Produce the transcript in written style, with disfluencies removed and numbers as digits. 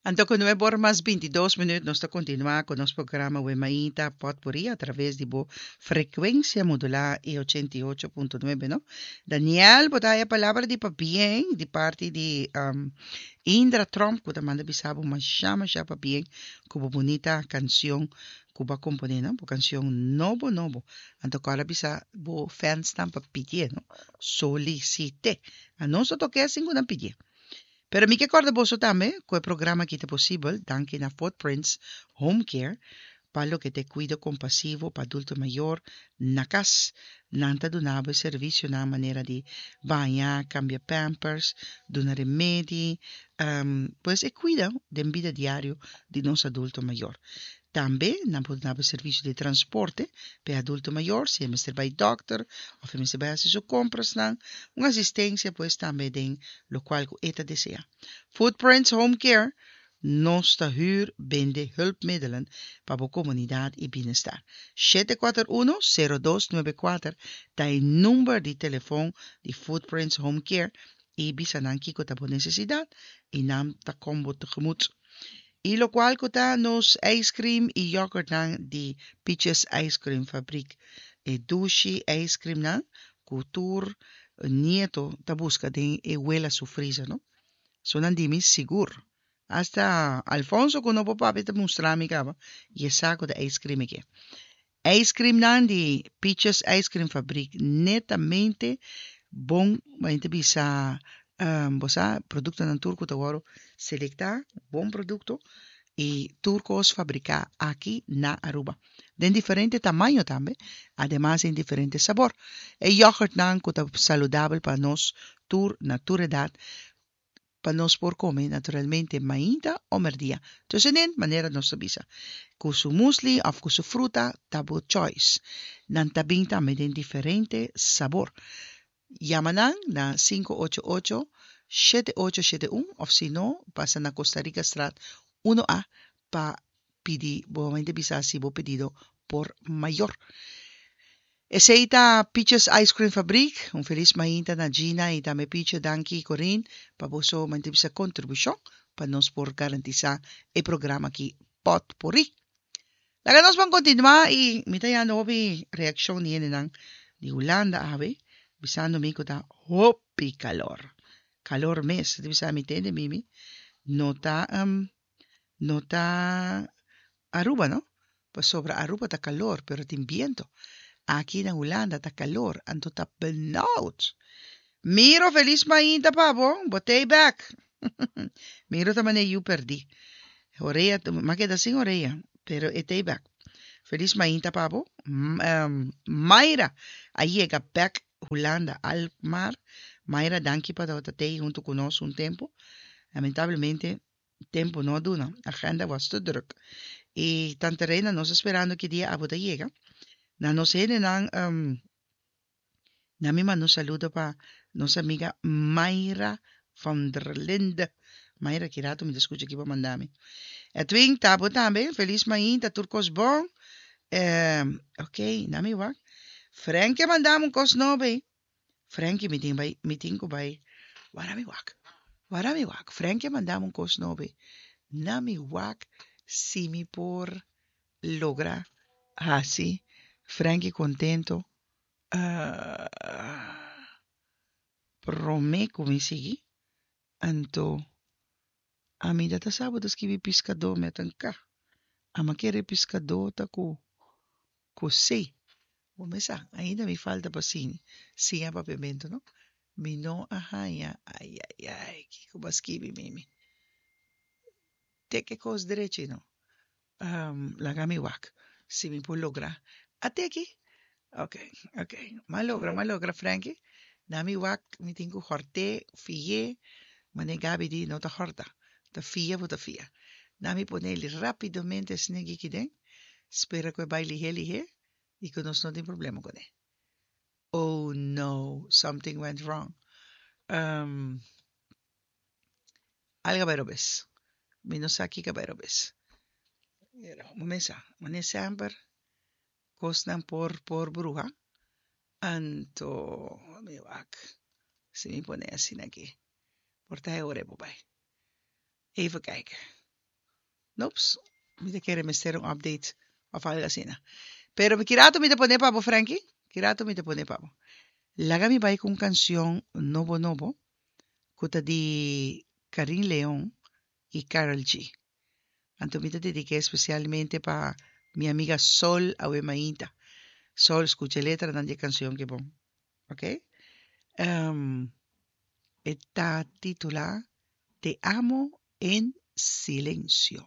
Anto ku 9 or mas 22 minüt nos ta kontinuá ku nos programa Wemainta Potpourri a traves di bo frekuensia modulá e 88.9, no? Daniel, bo ta haya palabra di pabien di parti di Indra Tromp, ku ta manda bisa bo masha masha pabien ku bo bunita kanshon ku bo a komponé, no? Bo kanshon nobo nobo. Anto kòrda bisa bo fansnan pa pidié, no? Solisit'é. Anos no tok'é sin ku nan pidié. Pero mi ke kòrda boso tambe ku e programa aki ta posibel danki na Footprints Home Care pa loke ta e kuido kompasivo pa adulto mayor na kas. Nan ta duna bo e servisionan manera di baña, kambia pampers, duna remedi, pues e kuida den bida diario di nos adulto mayor. Tambe nan por duna bo servisio di transporte pa e adulto mayor si e mester bai dòkter òf e mester bai hasi su komprasnan. Un asistensia pues tambe den lokual ku e ta deseá. Footprints Home Care nos ta hür bende hulpmiddelen pa bo komunidat i bienestar. 741-0294 ta e number di telefòn di Footprints Home Care i bisa nan kiko ta bo nesesidat i nan ta kom bo tegemoet. I lokual ku ta nos ice cream i yoghurtnan di Peaches Ice Cream Fabriek. E dushi ice creamnan ku tur nieto ta buska den e wela su freezer, no? So nan di mi sigur. Hasta Alfonso ku no por papia ta mustra mi kaba i e sa ku ta ice cream e ke. Ice creamnan di Peaches Ice Cream Fabriek netamente bon, bo ta bisa bo sa produktonan tur ku ta wòrdu selektá, bon produkto i tur kos fabriká aki na Aruba. Den diferente tamaño tambe, ademas den diferente sabor. E yoghurtnan ku ta saludabel pa nos tur na tur edat pa nos por kome naturalmente mainta o merdia. Tussenin, manera nos ta bisa. Ku su muesli òf ku su fruta ta bo choice. Nan ta bin tambe den diferente sabor. Yama nan na 588-7871 òf si no, pasa na Costa Rica Straat 1A pa pidi bo mente bisa si bo pedido por mayor. Esei ta Peaches Ice Cream Fabriek. Un felis mainta na Gina i tambe Picho, danki Corinne pa boso mente bisa kontribushon pa nos por garantisá e programa aki Potpourri. Laga nos ban kontinuá i mi ta yanda hopi reakshon di hendenan di Hulanda awe bisando mi ku ta hopi kalor. Kalor mes. Ta bisa mi tende mimi no ta no ta Aruba no, pasobra Aruba ta kalor pero tin biento. Aki na Hulanda ta kalor anto ta benauwd. Miro felis mainta pa bo, bo t'ei bek. Miro ta manera yu perdí. Orea, m'a keda sin orea, pero e t'ei bek. Felis mainta pa bo. Mayra a yega bek Hulanda, Alkmaar. Mayra danki pa tabata t'ei huntu ku nos un tempu. Lamentablemente tempu no a duna, agenda was te druk. I Tante Reina nos ta sperando ki dia abo ta yega. Na nos hendenan na mi manda un saludo pa nos amiga Mayra van der Linde. Mayra ki rato mi ta skucha ki bo a manda mi. Edwin ta bo tambe, felis mainta tur kos bon. Ok, na mi wak. Frankie a manda mi un kos nobo ei. Frankie mi tin bai mi tin ku bai wara mi wak wara mi wak Frankie a manda mi un kos nobo ei na mi wak si mi por logra hasi Frankie kontento prome ku mi sigui anto ami ta ta sa bo ta skibi piskadó mi a ta nka ama kere piskadó ta ku ku si. Bo mes sa, ainda mi falta pa siña, siña papiamentu no. Mi no a haña, ai ai ai, kiko bo a skibi mimi. Te ke kos drechi no. Laga mi wak si mi por logra. A te aki? Ok, ok. M'a logra, m'a logra Frankie. Na mi wak mi tin ku hòrt'é, fi'é, manera Gaby di no ta hòrta, ta fia bo ta fia. Na mi pone rápidamente esne giki den, spera ku e bai lihé lihé i ku nos no tin problema kuné. Oh no, something went wrong. Algo a bai robes. Mi no sa kiko a bai robes. Pero bo mes sa, manera semper kosnan por por bruha. Anto mi wak si mi pone asina aki por ta e ora e por bai. Even kijken. Nops, mi ta kere mester un update of algo asina. Pero ki rato mi ta pone pa bo, Frankie? Ki rato mi ta pone pa bo? Laga mi bai ku un kanshon nobo nobo ku ta di Carin Leon i Karol G. Anto mi ta dedik'é spesialmente pa mi amiga Sol awe mainta. Sol, skucha e letranan di e kanshon ke bon. Ok? Um, e ta titulá Te amo en silencio.